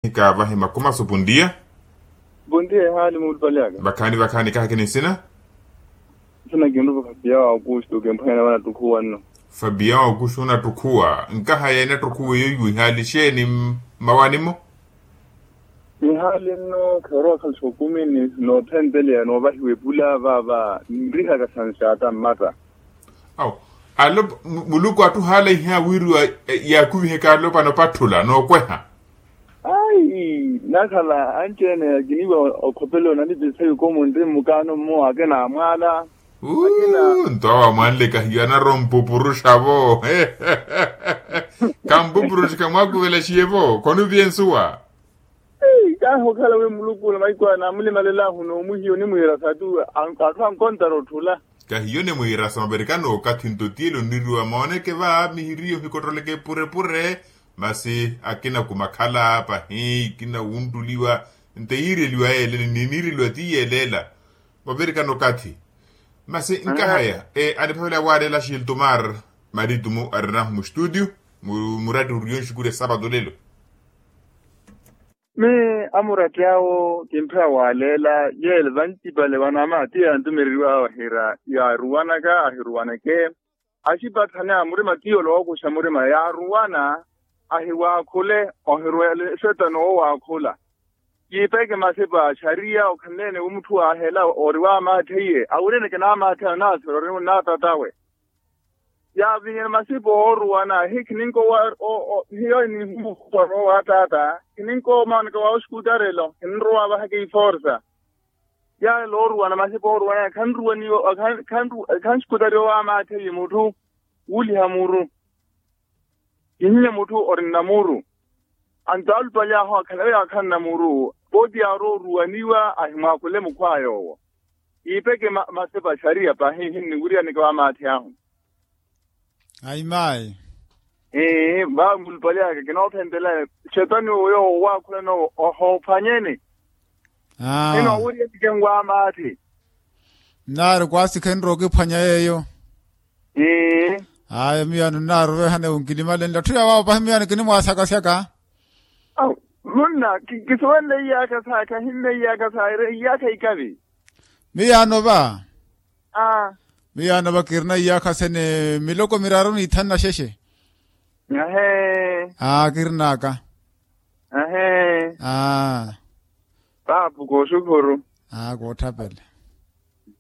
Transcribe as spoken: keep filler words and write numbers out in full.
Kaavahi makumasu pundiya. Pundiya ehaali muulupale aka. Vakhaani vakhaani kaha kini nsina. Nsina kinrupa fabian augusto kemphwanyana vanattukhuwa nno. Fabian augusto onattukhuwa nkaha yeene attukhuwa eyo ihaali xeeni? Mmawani-mo. Nihaali nno khero akhalixa okumini nootthenteleya noovahiwa epula vaava nrihaka sanxaata mmatta. Awo. Alopa muluku atthu ohaala ihiya wiiriwa. Yaakuviheke alopano opatthula nookweha. Ayi nakhala anci-ene akiniwa okhopela onanipisa yuko munri mmukaano mmo akina amwaala. Nto awo amwanle kahiyo anarowa ompupuruxa-vo. Kampupuruxi kamwaakuvelaxiye-vo khonuvye nsuwa. Kahi okhala wi muluku na mahiku aya naamulimalela ahu n'omuhiya onimwiira satu. Atthu ankontara otthula. Kahiyo onimwiira sa mavirikano okathi nto tiyelo oniriwa mooneke va mihiriyo ohikottoleke epurepure. Masi akina kumakhala pahi kina wunttuliwa nto yiireliwa yeelela ni niireliwa ti yeelela. Vavirikana okathi. Masi nkahaya aniphavela waalela xiltumar maritumu arinahu mustutio. Muratti uriyo nxukuri ya sapato lelo. Mi amuratti awo kimphiya waaleela yeele vantipale vanaama ti yantumereriwa awo ahira yaaruwanaka ahiruwaneke. Axipatthane a murima ti yolowa okuxa murima yaaruwana. Ahiwaakhule ohirwele xetano oowaakhula. Kiipeke masipa a xariya okhanleene wi mutthu waahela ori waamaatthe iye awirene kinaamaatthe anaathela ori nnaatatawe. Yaavinyana masipa ooruwana hi khininkowa hiyo inihumu oowataata khininkowa omaanaka wa oxikutarelo khinrowa vahaka iforsa. Yaala ooruwana masipa ooruwana khanxikutariwa waamaatthe iye mutthu wuuliha muru. Kihinya mutthu ori nnamuru. Anto alupale ahu akhala yo yaakhala nnamuru pooti yaarowa oruwaniwa ahimwaakhule mukhwaya owo. Iipeke masipa a xariya pahi hinniwiriyaneke waamaathi ahu. Ayi mayi. Ii vawi mulupale aka kinoophentelaya. Xetani owo yoowo owaakhulana owo ohoophwanyeni. Aa ino awiriyaneke nwaamaathi. Nnaaru kwaasi khenrowa okiphwanya yeeyo. Ii. Aya miyo ano nnaaru ovehana ewunkilimalenle atthu yawaawo pahi miyo ano kinimwaasakasyaka. Aw munna kisuwenle iyaakha saakha hinna iyaakha saayira iyaakha ikavi. Miyaano va. Aa. Miyaano va kirina iyaakha sene miloko miraru n'ithanu na xexe. Ahee. Aa kirinaka. Ahee. Aa. Paapu kooxukhuru. Aa kootthapela.